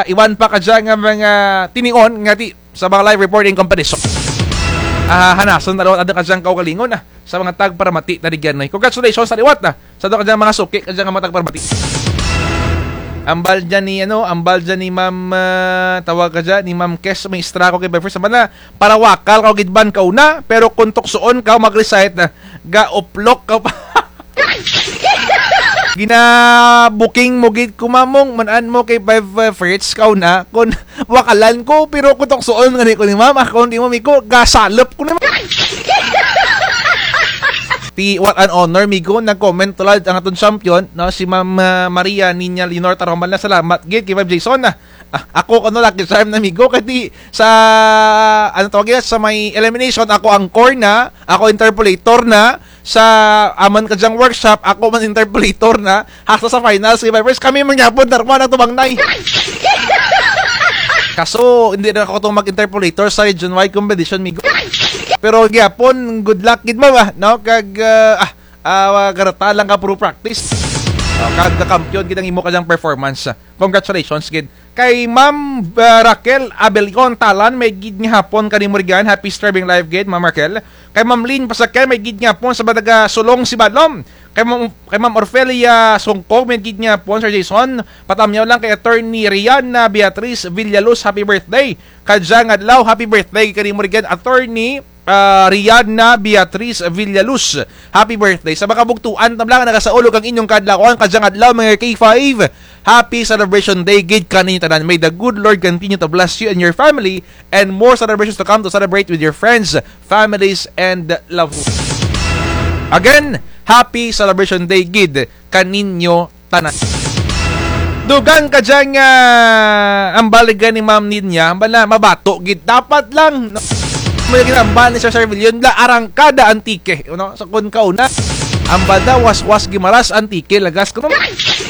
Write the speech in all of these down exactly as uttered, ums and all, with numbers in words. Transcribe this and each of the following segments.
Iban pa kadya nga mga tinion nga ti sa mga live reporting competition. Ah, hanason ta liwat ang kadyang kaugalingon, ah, sa mga tagparamati ta rugyan, eh. Congratulations sa liwat, ah, sa kadyang mga suki, kadyang mga tagparamati. Ambal dyan ni, ano, ambal dyan ni Ma'am, ah, tawag kadya, ni Ma'am Kes, may istra ko kay Befers. Sama na, para wakal ka gid man kauna, pero kung tuksoon ka, mag-recite na, ga-uplok ka pa. Gina-booking mo gid ko, Mamong, man-an mo kay Five, uh, Fritz, kauna, kun wakalan ko, pero kun tuksoon gani ko ni Ma'am, ah, kun di mo, migo, gasalop ko ni Ma'am. Ti, what an honor, migo, nag-comment tulad ang atong champion, no, si Ma'am, uh, Maria Niña Leonor Taromban na, salamat gid kay Five Jason, ah. Ah, ako, ano, lucky charm na, migo, kay ti, sa, ano tawag yan, sa may elimination, ako anchor na, ako interpolator na, sa aman kadyang workshop, ako man interpolator na, hasta sa finals, kay Vipers, kami man gyapon, darwa na tubang nay. Kaso, hindi na ako itong mag-interpolator sa region-wide competition, migo. Pero gyapon, good luck gid mo ba, no? Kag, ah, ah, ah, garata lang ka puro practice. Oh, kag kampiyon gid ang imo kadyang performance. Congratulations gid. Kay Ma'am, ah, Raquel Abelion Talan, maayong gid nga hapon kanimo rugyan. Happy streaming live gid, Ma'am Raquel. Kay Ma'am Lynn Pasakel, maayong gid nga hapon sa mga taga Sulong Sibalom. Kay Ma'am, kay Ma'am Orfelia Songkog, maayong gid nga hapon, Sir Jason. Patamyaw lang kay Attorney Rihanna Beatriz Villaluz, happy birthday. Kadyang adlaw, happy birthday kanimo rugyan, Attorney ah, Rihanna Beatriz Villaluz. Happy birthday. Sa mga kabugtuan, tabla nga nagasaulog ang inyong kaadlawan, kadyang adlaw, mga K five. Happy celebration day gid kaninyo tanan. May the good Lord continue to bless you and your family and more celebrations to come to celebrate with your friends, families, and loved ones. Again, happy celebration day gid kaninyo tanan. Dugang kadyang, ah, ambal gani Ma'am Ninya, ambal na mabato gid. Dapat lang, no? May ginambal ni Sir Servillion, la arangkada Antique, no? Sa kun kauna, ambal da, waswas Guimaras, Antique, lagas ko, no?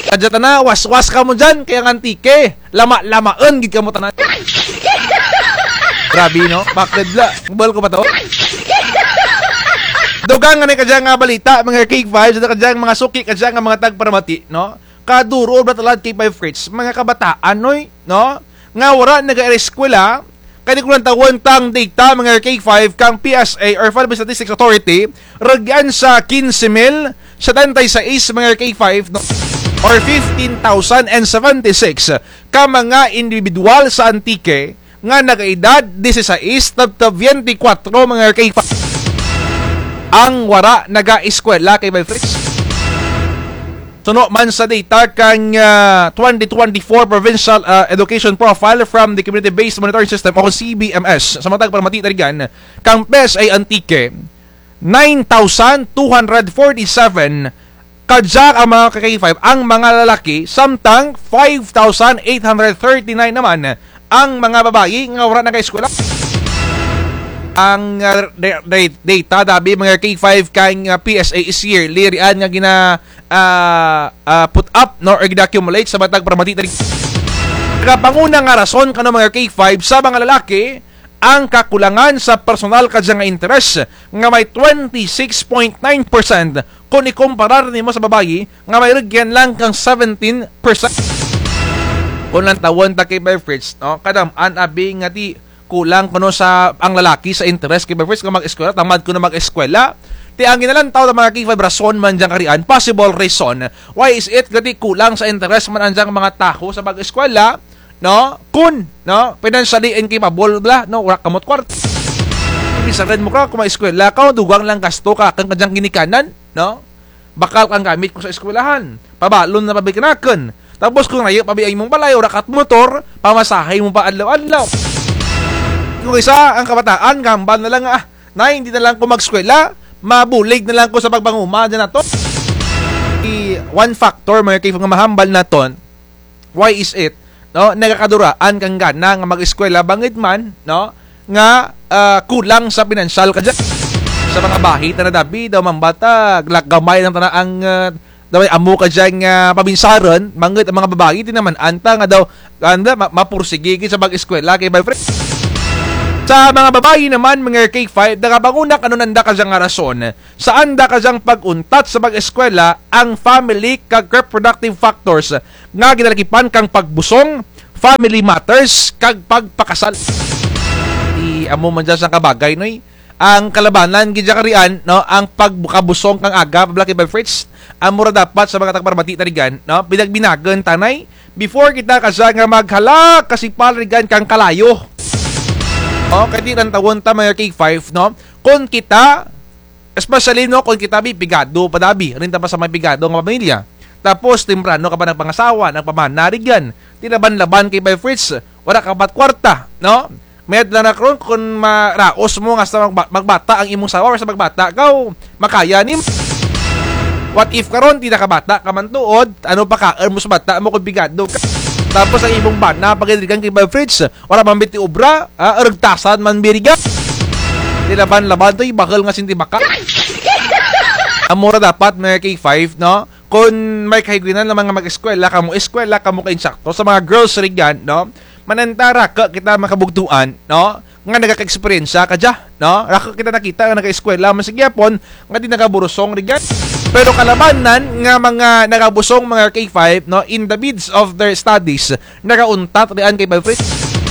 Kadya tana, waswas kamo dyan, kay ang Antique, lama-lamaon gid kamo tanan. Grabe, no? Bakit la? Bal ko ba to? Dugang nga ni kadyang nga balita, mga K five, sa kadyang mga suki, kadyang nga mga tagparamati, no? Kaduro ba talad kay Five Fritz? Mga kabataan, oy, no? Nga wara nag-eskwela, kay di ko lang tawon tang data, mga K five, kang P S A or Philippine Statistics Authority, rugyan sa quince mil setenta y seis, mga K five, no? Or fifteen thousand and seventy-six ka mga individual sa Antique, nga nagaedad disisais tabta biyente kwatro, mga K five, ang wara nagaeskwela kay Five Fritz. Suno man sa data kang, ah, twenty twenty-four Provincial, ah, Education Profile from the Community-Based Monitoring System o C B M S, sa mga tagparamati ta rugyan, kang P S A Antique, nine thousand two hundred forty-seven kadya ang mga K five, ang mga lalaki, samtang five thousand eight hundred thirty-nine naman ang mga babayi nga wara nagaeskwela. Ang, ah, da-, da-, data dabi, mga K five, kang, ah, P S A is yearly rian nga gina-, ah, ah, put up, no, or gina-accumulate sa mga tagparamati ta rugyan. Nagapanguna nga rason kano, mga K five, sa mga lalaki, ang kakulangan sa personal kadya nga interes nga may twenty-six point nine percent kun ikumparar nimo sa babayi nga may rugyan lang kang seventeen percent. Kun lantawon ta kay Five Fritz, no? Kadam-an abi nga ti kulang kuno sa ang lalaki sa interes kay Five Fritz nga mag-eskwela, tamad kuno mag-eskwela. Ti ang ginalantaw ta mga K five, rason man dyang karian, possible reason. Why is it nga ti kulang sa interes man ang dyang mga tawo sa mag-eskwela? No? Kun, no? Financially incapable bala, no? Wara kamo kwarta. Bisan mo ka, kun mag-eskwela ka, dugang lang gasto ka, kang kadyang ginikanan, no? Bakal kang gamit ko sa eskwelahan. Pabalon na pa bi kanakun. Tapos kun rayo pa bi ang imong balay, wara ka motor, pamasahe mo pa adlaw-adlaw. Kun isa, ang kabataan, gahambal na lang, ah, nay, hindi na lang ko mag-eskwela, mabulig na lang ko sa pagpanguma, dyan na to. I-, one factor, mga kaibigan, nga mahambal naton, why is it, no? Nagakaduraan kang gana nga mag-eskwela bangud man, no? Nga, ah, kulang sa pinansyal kadya. Sa mga bahi tana dabi, daw mambata, glak gamay lang tana ang, ah, daw may amo kadya nga pabinsaran, bangud ang mga babayi, ti naman-an ta nga daw, anda, ma-, mapursigi gid sa pag-eskwela kay Five Fritz. Sa mga babayi naman, mga K five, nagapanguna kano nanda kadya nga rason. Sa anda kadyang pag-untat sa pag-eskwela, ang family kag reproductive factors nga ginalakipan kang pagbusong, family matters kag pagpakasal. Ti amo man dya sangka bagay, noy. Ang kalabanan gid dya karian, no, ang pagkabusong kang aga, pabila kay Bay Fritz. Amo ra dapat sa mga tagparamati ta rigan, no, binagbinagan ta, nay. Before kita kadya nga maghalak kasipal rigan kang kalayo. O, kay ti lantawon ta mga K five, no? Kon kita, especially, no, kon kita bi pigado pa da bi, rugyan ta pa sa may pigado nga pamilya. Tapos, temprano ka pa nagpangasawa, nagpamana rigan. Ti laban-laban kay Bay Fritz, wara ka pa kwarta, no? Mayad lang na karon kon maraos mo nga sa magba-, magbata ang imong asawa or sa magbata ka, o makaya nim. What if karon ti nakabata ka man tuod, ano pakaun mo sa bata mo kon pigado ka? Tapos ang imong bana, pagidrigan kay Bay Fritz, wara man bi ti obra, ah, rugtasan man bi rigan. Ti laban-laban to, ibahal nga sintibaka. Amo ra dapat mga K five, no? Kon may kahigwinan nga mga mag-eskwela, kamo eskwela, kamo ka insakto. Sa mga girls rigan, no? Manantara ka kita makabugtuan, no? Nga nagaka-eksperyensya kadya, no? Raku kita nakita nga nagaeskwela man sa gihapon, nga ti nagaburusong rigan. Pero kalabanan nga mga nagabusong mga K five, no? In the midst of their studies, nagauntat rian kay Bay Fritz.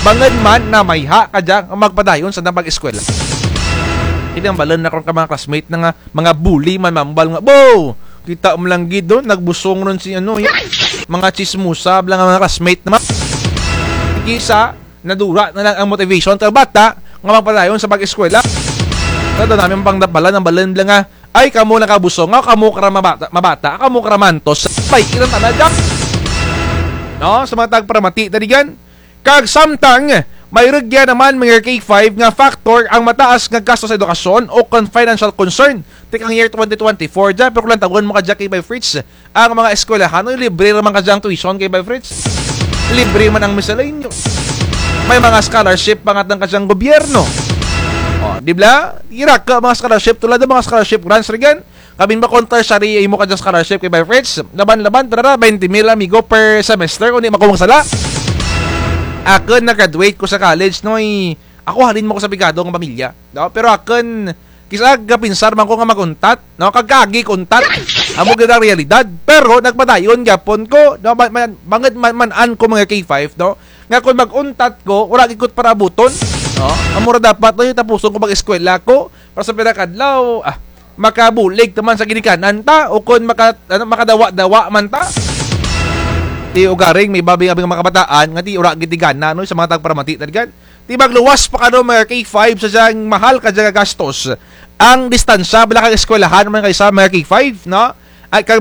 Bangud man namayha kadya nga magpadayon sa nang pag-eskwela. Kinambalan na karon ka mga classmate na nga mga bully man mambal nga, "Bo! Kita mo lang gid, oh, nagbusong ron si ano, ya. Mga chismosa, bala nga mga classmate naman." Kisa, nadura na lang ang motivation sa bata nga magpadayon sa pag-eskwela. Sa daw namin pang dapalan, ang balan bala nga, "Ay, kamo nakabusong, nga kamo kara mabata, mabata, kamo kara mantos." Bay, ilang tana dyan. No, sa mga tagparamati, taligan. Kag samtang, may rugya naman mga K five nga factor ang mataas nga gasto sa edukasyon o kon financial concern. Tikang year twenty twenty-four dyan, pero kung lantawon mo kadya kay Bay Fritz, ang mga eskwelahan, no, libre ra man kadya ang tuition kay Bay Fritz. Libre man ang miscellaneous. May mga scholarship pa nga tang kadyang gobyerno. O, di bala? Ira ka mga scholarship, tulad ng mga scholarship grants, rigan. Kabin ba kon tertiary imo kadya scholarship kay Bay Fritz? Laban-laban, tara, twenty mil, amigo, per semester, kung di man ko magsala. Akun, na-graduate ko sa college, no, eh, ako halin man ko sa pigado nga pamilya, no? Pero akun, kis-a gapinsar man ko nga mag-untat, no? Kag kaagi ko untat. Amo gid ang realidad. Pero nagpadayon gyapon ko, no? Ma-, ma-, bangud man, man-an ko mga K five, no? Nga kon mag-untat ko, wara gid ko parabuton, no? Amo ra dapat, no, tapuson ko pag-eskwela ko, para sa pira ka adlaw, ah, makabulig ta man sa ginikanan ta, o kon maka-, ano, makadawa-dawa man ta. Ti ugaring may iba bing mga kabataan nga ti wara gid ti gana, no, sa mga tagparamati, taligan. Ti magluwas pa kano mga K five sa dyang mahal kadya nga gastos. Ang distansya bala kang eskwelahan man kaysa mga K five, no? Ay, kag